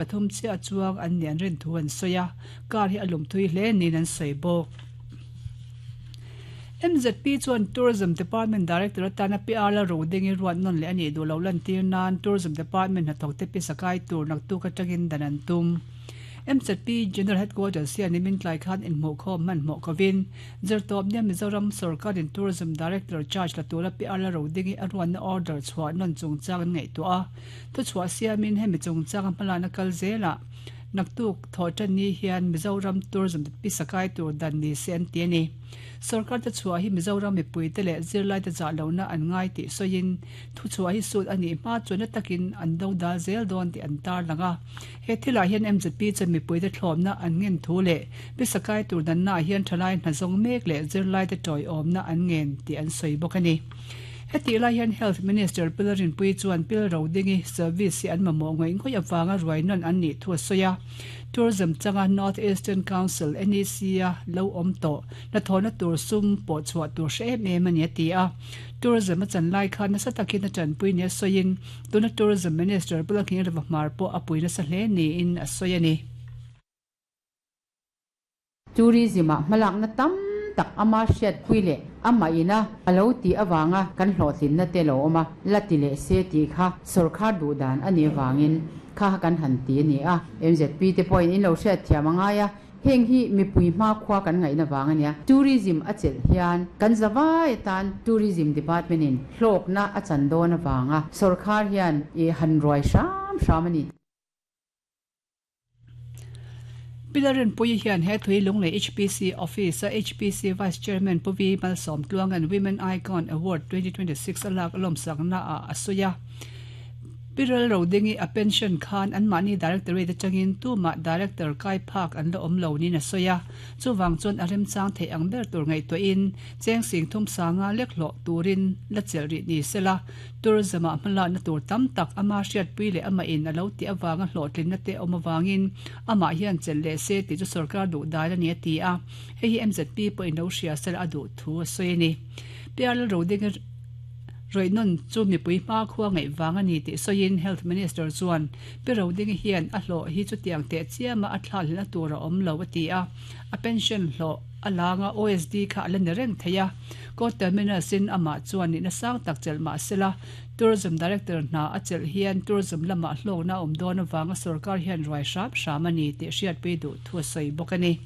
Pathum chiah chuang an nih an rin thu an sawi a, car hi a lum thui hle niin an sawi bawk. MZP chuan Tourism Department Director atana PR la ro dingin ruat nawn leh a nih duh loh lantir nan Tourism Department hnathawkte pisa kai tur naktuk atangin dan an tum. MZP General Headquarters hian nimin tlai khan inhmuhkhawm hmanhmawh kovin Zirtawpnia Mizoram sawrkarin Tourism Director charge la tura PR la ro dingin a ruatna order chhuah nawn chungchang an ngaihtuah a. Thuchhuah siamin hemi chungchanga hmalakna kal zelah naktuk thawhtan ni hian Mizoram Tourism pisa kai tur dan ni se an ti a ni. Sorkar te chhuah hi Mizoram mipuite leh zirlaite zah lohna an ngai tih sawiin thuchhuah hi sut a nih hma chuan na takin an do dal zel dawn tih an tarlang a. He thilah hian MZP chuan mipuite thlawmna an ngen thu leh pisa kai tur dannaah hian thalai hna zawng mek leh zirlaite tawiawmna an ngen tih an sawi bawk a ni. Hetih lai hian Health Minister Pil Rinpuii chuan Pil Rodingi service hi an mamawh ngawih ngawih avanga ruai nawn an nih thu a sawi a. Tourism changa North Eastern Council, NEC, a lo awm tawh hnathawhna tur sum pawh chhuah tur hre em em a ni a ti a. Tourism a chan lai khan nasa takin a tanpui nia sawiin tuna Tourism Minister Pu Lalnghingreva Hmar pawh a pui nasa hle niin a sawi a ni. Tourism-ah hmalakna tam tak ama hriatpui leh amah ina a lo tih avanga kan hlawhtlinna te lo awm a, la ti leh se tih kha sawrkhar duh dan a nih avangin kha kan han ti a ni a. MZP te pawhin in lo hriatthiam a ngai a, heng hi mipui hmakhua kan ngaihna vang a nia. Tourism a chelh hian kan zavai atan Tourism Department-in hlawkna a chan dawn avanga sawrkhar hian i han ruai hram hram a ni. Pilar Rinpuii hian he thui Lunglei HPC Office-a HPC Vice Chairman Pu Vi Malsawm Tluanga'n Women Icon Award 2026 a lak lawmsakna ah a sawi a. Pi Ral Rodingi a pension khan anmahni Directorate atangin tumah Director kai phak an la awm lo niin a sawi a. Chuvang chuan a remchang theih ang ber tur ngaihtuahin cheng sing thum sanga lek hlawh turin la chelh rih ni sela Tourism-ah hmalakna tur tam tak ama hriatpui leh amah in a lo tih avanga hlawhtlinna te awm avangin amah hian chelh leh se tih chu sorkar duh dai a ni a ti a, hei hi MZP pawhin lo hria sela a duh thu a sawi a ni. PR Lalrodinga rawihnawn chu mipui hmakhua ngaih vang a ni tih sawiin Health Minister chuan Pi Rodinga hian a hlawh hi chutiang teh chiama a thlahhlelhna tur a awm lo a ti a, a pension hlawh a langa OSD kha a la ni reng thei a. Court Terminus in amah chuan nihna sang tak chelh mah sela, Tourism Director hna a chelh hian tourism lamah hlawkna a awm dawn avanga sorkar hian ruai hram hram a ni tih hriatpui duh thu a sawi bawk a ni.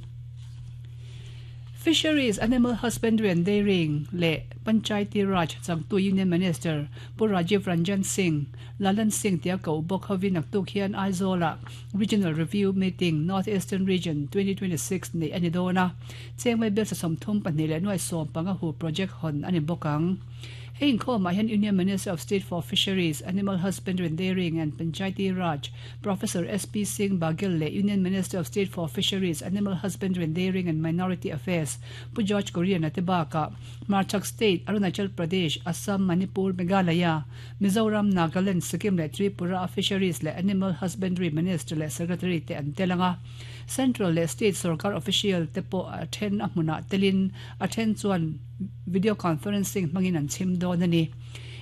Fisheries, Animal Husbandry and Dairying leh Panchayati Raj changtu Union Minister Pu Rajiv Ranjan Singh, Lalan Singh tia koh bawk hovin naktuk hian Aizawl-ah Regional Review Meeting, North Eastern Region, 2026 neih a ni dawn a. Chengmei bial sa 32 leh nuai 15 hu project hawn a ni bawk ang. Hei inkhawmah hian Union Minister of State for Fisheries, Animal Husbandry and Dairying and Panchayati Raj, Professor SP Singh Baghel leh Union Minister of State for Fisheries, Animal Husbandry and Dairying and Minority Affairs, Pu George Kurian-a te bakah Hmarchhak State, Arunachal Pradesh, Assam, Manipur, Meghalaya, Mizoram, Nagaland, Sikkim leh Tripura-a Fisheries leh Animal Husbandry Minister leh Secretary te an tel ang a. Central leh State sorkar official te pawh a then a hmunah telin a then chuan video conferencing hmangin an chhim dawn a ni.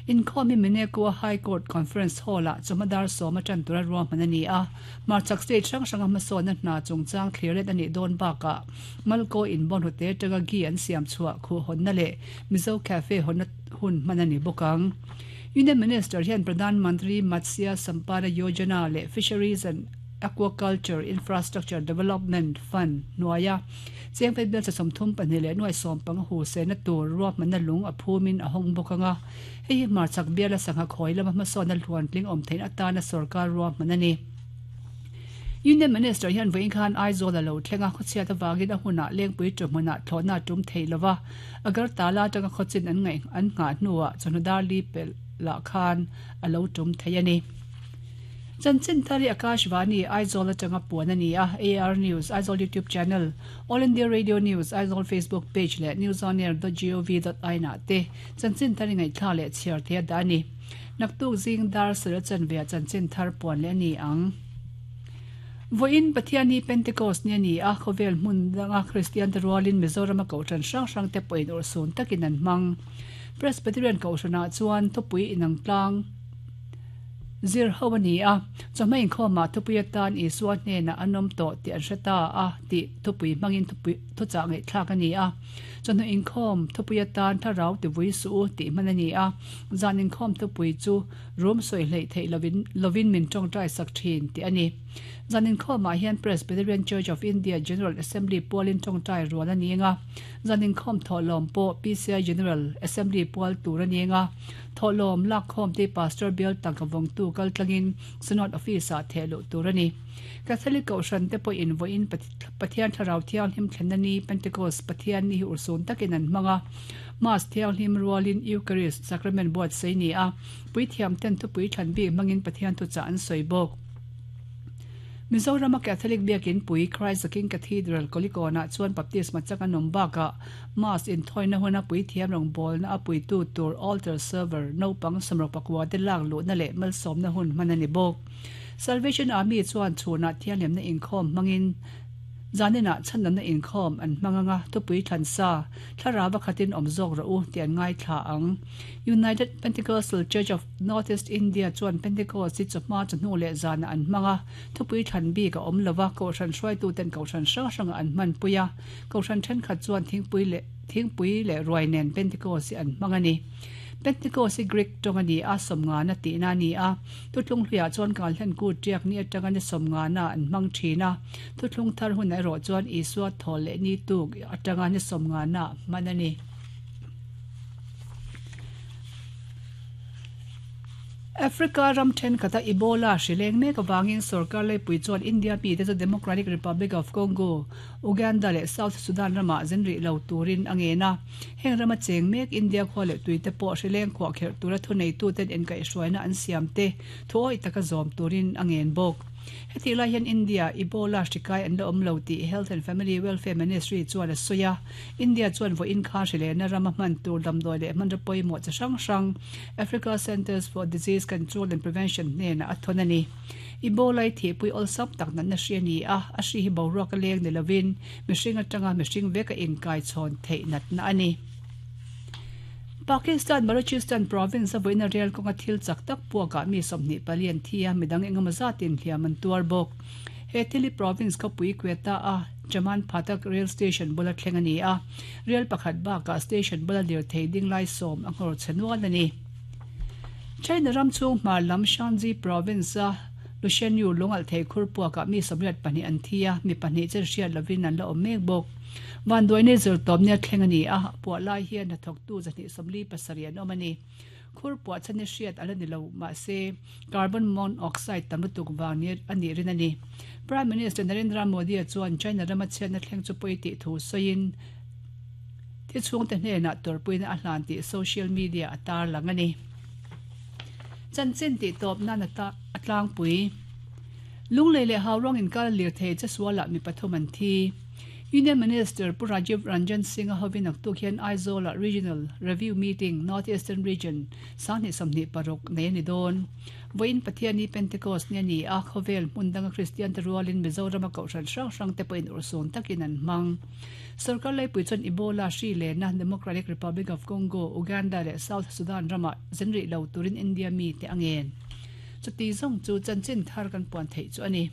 Inkhawm hi Minekua High Court Conference Hall-ah chawhma dar sawma tan tura ruahman a ni a, hmarchhak state hrang hranga hmasawnna hna chungchang thlir let a nih dawn bakah Malko inbawn hlute atanga ghee an siam chhuah khuh hawnna leh Mizo Cafe hawnna hun hman a ni bawk ang. Union Minister hian Pradhan Mantri Matsya Sampada Yojana leh Fisheries and Aquaculture Infrastructure Development Fund hnuaia chengfei bial cha 32 leh nuai 15 hu sehna tur ruahmanna lung a phumin a hawng bawk ang a, hei hi hmarchhak biala sangha khawi lama hmasawnna hluantling awm theihna atana sorkar ruahman a ni. Union Minister hian vawiin khan Aizawl a lo thleng a, khawchhiat avangin a hunah Lengpui ṭuhmunah thlawhna a tum thei lo va, Agartala atanga khawchin an ngaih an nghah hnuah chawhnu dar li pelh lah khan a lo tum thei a ni. Chanchin thar hi Akashvani, Aizawl atanga puan a ni a, AR News, Aizawl YouTube Channel, All India Radio News, Aizawl Facebook Page leh newsonair dot gov dot in ah te chanchin thar i ngaihthlak leh chhiar thei a dah a ni. Naktuk zing dar sarh a chanve ah chanchin thar puan leh a ni ang. Vawiin Pathian hi Pentecost ni a ni a, khawvel hmun danga Kristian te rualin Mizorama kohhran hrang hrang te pawhin urhsun takin an hmang. Presbyterian kohhranah chuan thupui inang tlang. Zir ho a ni a, chawhma inkhawmah thupui atan Isua hnenah an awm tawh tih an hre ta a tih thupui hmangin thupui thuchah ngaihthlak a ni a. Chawhnu inkhawm thupui atan Thlarau tivui suh u tih hman a ni a, zan inkhawm thupui chu Rum sawi hleih theih lovin lovin min tawngtai sak thin tih a ni. Zan inkhawmah hian Presbyterian Church of India General Assembly pualin tawngtai rual a ni eng a, zan inkhawm thawhlawm pawh PCI General Assembly pual tur a ni eng a. Thawhlawm lakkhawm te Pastor bial tangka vawngtu kal tlangin Synod Office-ah theh luh tur a ni. Catholic Kohhran te pawhin vawiin Pathian Thlarau Thianghlim thlenna ni Pentecost Pathian ni hi urhsun takin an hmang a. Mass Thianghlim rualin Eucharist Sacrament buatsaih ni a, puithiam ten thupui thlan bik hmangin Pathian thuchah an sawi bawk. Mizorama Catholic Biakin pui Christ the King Cathedral Kolikawnah chuan Baptisma chang an awm bakah Mass inthawina huna puithiam rawngbawlna a puitu tur altar server naupang sawmruk pakua te lak luhna leh malsawmna hun hman a ni bawk. Salvation Army chuan chhunah thianghlimna inkhawm hmangin zaninah chhandamna inkhawm an hmang anga thupui thlan sa thlarau a khatin awm zawk rawh u tih an ngaithla ang. United Pentecostal Church of North East India chuan Pentecost hi chawhma chawhnu leh zanah an hmang a, thupui thlan bik a awm lova kohhran hruaituten kohhran hrang hrangah an hmanpui a. Kohhran thenkhat chuan thingpui leh thingpui leh ruai nen Pentecost hi an hmang a ni. Pentecost hi Greek tawng a ni a, sawmngana tihna a ni a. Thuthlung hluiah chuan kalhlen kut tiak ni atanga ni sawmngana an hmang thin a. Thuthlung thar hunah erawh chuan Isua thawl leh ni tuk atanga ni sawmngana hman a ni. Africa ram thenkhat a Ebola hri leng mek avangin sorkar leipui chuan India mite chu Democratic Republic of Congo, Uganda leh South Sudan ramah zin rih lo turin a ngen a. Heng rama cheng mek India khua leh tuite pawh hri leng khuah kherh tura thuneituten inkaihhruaina an siam te thuawih taka zawm turin a ngen bawk. Hetih lai hian India Ebola hri kai an la awm lo tih Health and Family Welfare Ministry chuan a sawi a. India chuan vawiin kha hri lehna rama hman tur damdawi leh hmanraw pawimawh chi hrang hrang Africa Centres for Disease Control and Prevention hnenah a thawn a ni. Ebola hi thihpui awlsam tak natna hri a ni a, a hri hi boruak a leng ni lovin mihring atanga mihring veka inkaichhawn theih natna a ni. Pakistan Balochistan province a vawiina rel kawnga thil chak tak puakah mi 24 an thi a, midang engemaw zatin hliam an tuar bawk. He thil hi province khawpui Quetta a Chaman Phatak rail station bula thleng a ni a, rel pakhat bakah station bula lirthei ding lai sawm a nghawr chhe nual a ni. China ram chhung hmar lam Shanxi province a Lushenyu lungalh thei khur puakah mi 82 an thi a, mi pahnih chen hriat lovin an la awm mek bawk. Vanduaina zirtawp nia thleng a ni a, puah lai hian hnathawktu 147 an awm a ni. Khur puah chhan hi hriat a la ni lo, mahse carbon monoxide tam lutuk vang ni a nih rin a ni. Prime Minister Narendra Modi-a chuan China rama chhiatna thleng chu pawi tih thu sawiin thi chhungte hnenah tawrhpuina a hlan tih social media a tarlang a ni. Chanchin tih tawp nan a tlangpui. Lunglei leh Hauruang inkar lirthei che sualah mi pathum an thi. Union Minister Pu Rajiv Ranjan Singh-a hovin naktuk hian Aizawl-ah Regional Review Meeting, North Eastern Region, 2026 nei a ni dawn. Vawiin Pathianni Pentecost ni a ni a, khawvel hmun danga Kristiante rualin Mizorama kohhran hrang hrangte pawhin urhsun takin an hmang. Sorkar laipui chuan Ebola hri lena Democratic Republic of Congo, Uganda leh South Sudan ramah zin rih lo turin India mite a ngen. Chuti zawng chu chanchin thar kan puan theih chu a ni.